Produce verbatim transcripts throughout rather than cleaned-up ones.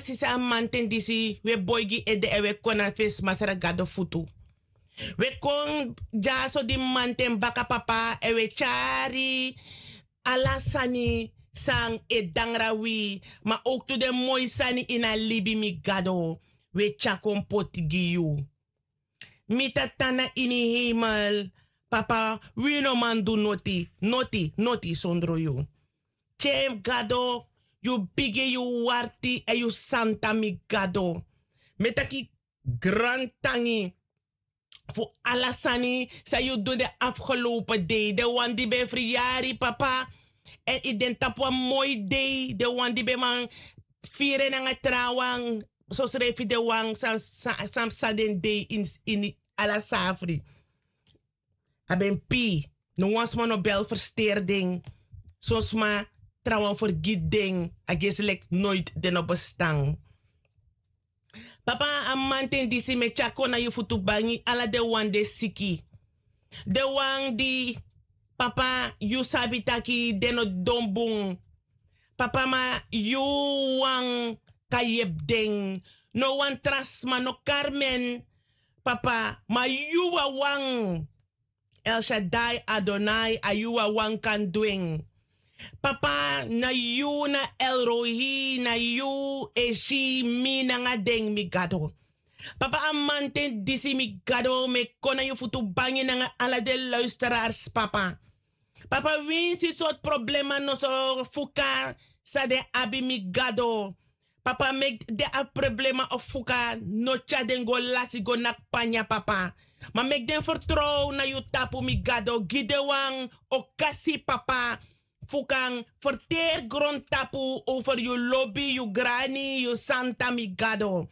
Sisi, a manten disi wi e boi gi ede èn wi e kon na fesi masra gado futu. Wi e kon dyaso di manten baka, papa, èn wi e tyari ala sani san e dangra wi, ma owktu den moi sani ini a libi, mi gado, wi e tyari kon poti gi yu. Mi tata na ini heimel, papa, wi no man du noti, noti, noti sondro yu. Tyem gado, yu bigi, yu warti èn yu santa, mi gado. Mi e taki grantangi fu ala sani san yu du den afgelopen dei. Den wan di ben friyari, papa, èn yu de tapu wan moi dei. Den wan di ben man firi en nanga trawan, sosrefi den wan san, san, san psa den dei ini, ini ala safri. A ben pii, no wan sma no bel fersteri den. Son sma trawan fergiti den, a gesi leki noiti den no bestan. Papa, a manten disi mi e tyari kon na yu futu bangi ala den wan di e siki. Den wan di, papa, yu sabi taki den no don bun. Papa, ma yu wan kan yepi den. No wan tra sma, no Carmen, papa, ma yu wawan. El Shaddai Adonai, a yu wawan kan du en. Papa, na yu na El Rohi, na yu e si mi nanga den, mi gado. Papa, a manten disi, mi gado, mi e kon na yu futu bangi nanga ala den luisteraars, papa. Papa, winsi sortu problema noso fuka san den abi, mi gado. Papa, meki den abi problema of fuka no tyari den go lasi go naki panya, papa. Ma meki den fertrow na yu tapu, mi gado. Gi den wan okasi, papa, fu kan ferteri grontapu over yu lobi, yu grani, yu santa, mi gado.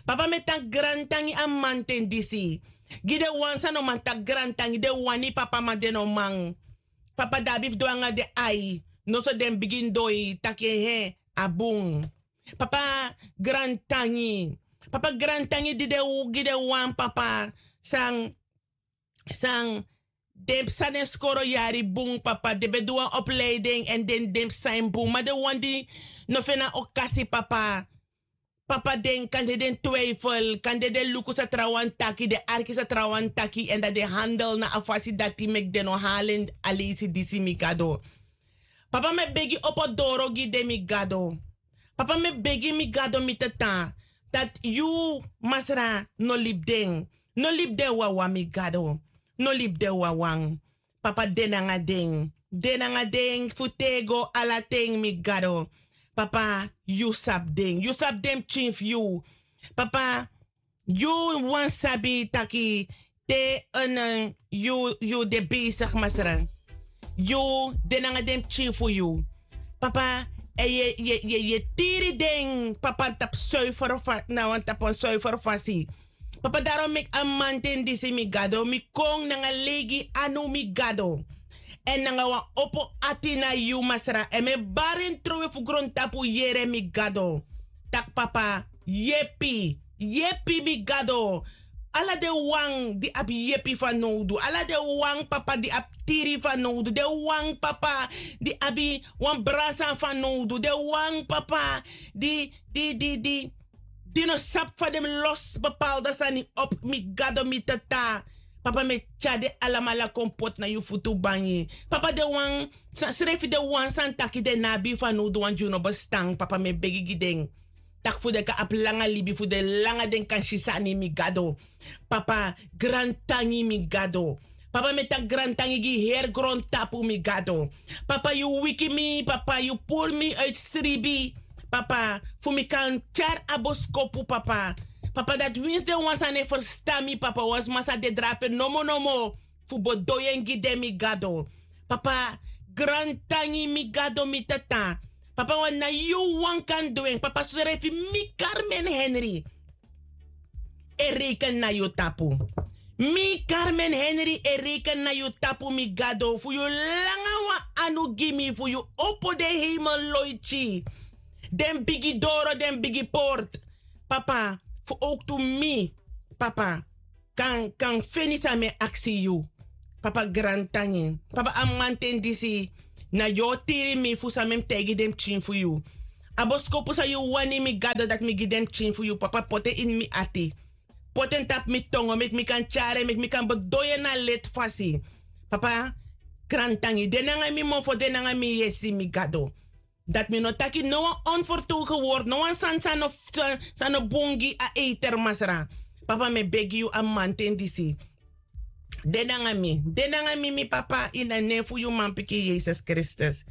Papa, mi e taki grantangi a manten disi. Gi den wan san no man taki grantangi, den wani, papa, ma den no man. Papa, den abi fu du nanga den ai, noso den bigin doi taki en, a bun. Papa, grantangi. Papa, grantangi di den, gi den wan, papa, san, san den psa den skoro yari bun, papa, den ben du wan opleiding èn den, den psa en bun, ma den wan di no feni a okasi, papa. Papa, den kande den twijfel, kande den luku san trawan taki, den arki san trawan taki, èn dan den handel na a fasi dati meki den no halen a leisi disi, mi gado. Papa, mi e begi, opo doro gi den, mi gado. Papa, mi e begi, mi gado, mi tata, dati yu, masra, no libi den. No libi den wawan, mi gado. No libi den wawan. Papa, de nanga den. De nanga den fu tego ala ten, mi gado. Papa, yu sabi den. Yu sabi den pikin fu yu. Papa, yu wan sabi taki te en, eh, yu, yu de bezig, masra. Yu de nanga den pikin fu yu. Papa, èn yu e, yu e, yu e, yu e tiri den, papa, tapu suiver fa-, na wan tapu wan suiver fasi. Papa, daro meki a manten disi, mi gado, mi kon nanga leigi anu, mi gado. Èn nanga wan opo ati na yu, masra. Èn mi e bari en trowe fu grontapu yere, mi gado. Taki, papa, yepi, yepi, mi gado. Ala den wan di abi yepi fanowdu. Ala den wan, papa, di abi tiri fanowdu. Den wan, papa, di abi wan brasa fanowdu. Den wan, papa, di, di, di, di, di no sabi fa den mus losi bepaalde sani op, mi gado, mi tata. Papa, mi e tyari den alamala kon poti na yu futu bangi. Papa, den wan, sa-, srefi den wan san taki den no abi fanowdu, wan di yu no bestan, papa, mi e begi gi den. Taki fu den kan abi langa libi, fu den langa den kan si sani, mi gado. Papa, grantangi, mi gado. Papa, mi e taki grantangi gi heri grontapu, mi gado. Papa, yu wiki mi, papa, yu puru mi uiti sribi. Papa, fu mi kan tyari a boskopu, papa. Papa, dati winsi den wan san no e ferstan mi, papa, wan sma sa de drape nomo nomo fu bedoi en gi den, mi gado. Papa, grantangi, mi gado, mi tata. Papa, wan na yu wan kan du en. Papa, srefi mi, Carmen Henry, e reken na yu tapu. Mi, Carmen Henry, e reken na yu tapu, mi gado, fu yu langa wan anu gi mi, fu yu opo den heimel loiti, den bigi doro, den bigi portu. Papa, fu owktu mi, papa, kan, kan feni san mi e aksi yu. Papa, grantangi. Papa, a manten disi, na yu o tiri mi fu san mi mus taigi den pikin fu yu. A boskopu san yu wani, mi gado, dati mi gi den pikin fu yu, papa, poti en ini mi ati. Poti en tapu mi tongo, meki mi kan tyari en, meki mi kan bedoel en na leti fasi. Papa, grantangi, de nanga mi mofo, de nanga mi yesi, mi gado. Dati mi no taki no wan onvertogen woord, no wan sani san no, san no bun gi a eiter, Masra. Papa, mi e begi yu a mamanten disi. De nanga mi, de nanga mi, mi papa, ini a nen fu yu manpikin Yesus Kristus.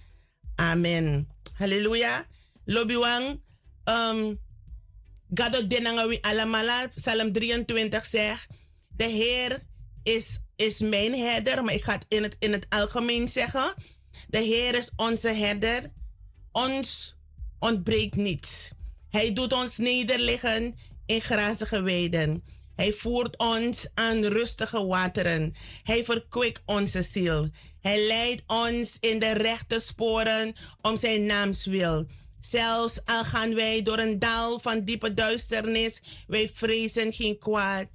Amen. Haleluya. Lobiwan, um, Gado de nanga wi alamala. Psalm drieëntwintig zegt: De Heer is, is mijn herder, maar ik ga het in het, in het algemeen zeggen. De Heer is onze herder, ons ontbreekt niets. Hij doet ons nederliggen in grazige weiden. Hij voert ons aan rustige wateren. Hij verkwikt onze ziel. Hij leidt ons in de rechte sporen om zijn naams wil. Zelfs al gaan wij door een dal van diepe duisternis, wij vrezen geen kwaad.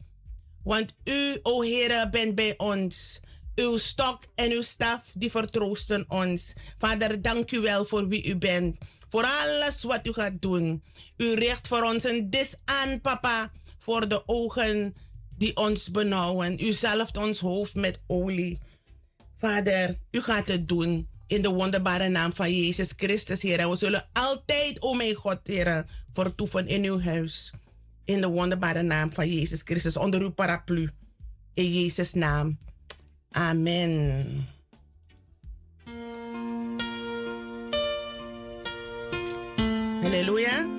Want u, o Heere, bent bij ons. Uw stok en uw staf, die vertroosten ons. Vader, dank u wel voor wie u bent. Voor alles wat u gaat doen. U richt voor ons een dis aan, papa, voor de ogen die ons benauwen. U zalft ons hoofd met olie. Vader, u gaat het doen. In de wonderbare naam van Jezus Christus, Heer. En we zullen altijd, o mijn God, Heer, vertoeven in uw huis. In de wonderbare naam van Jezus Christus, onder uw paraplu. In Jezus' naam. Amen. Haleluya.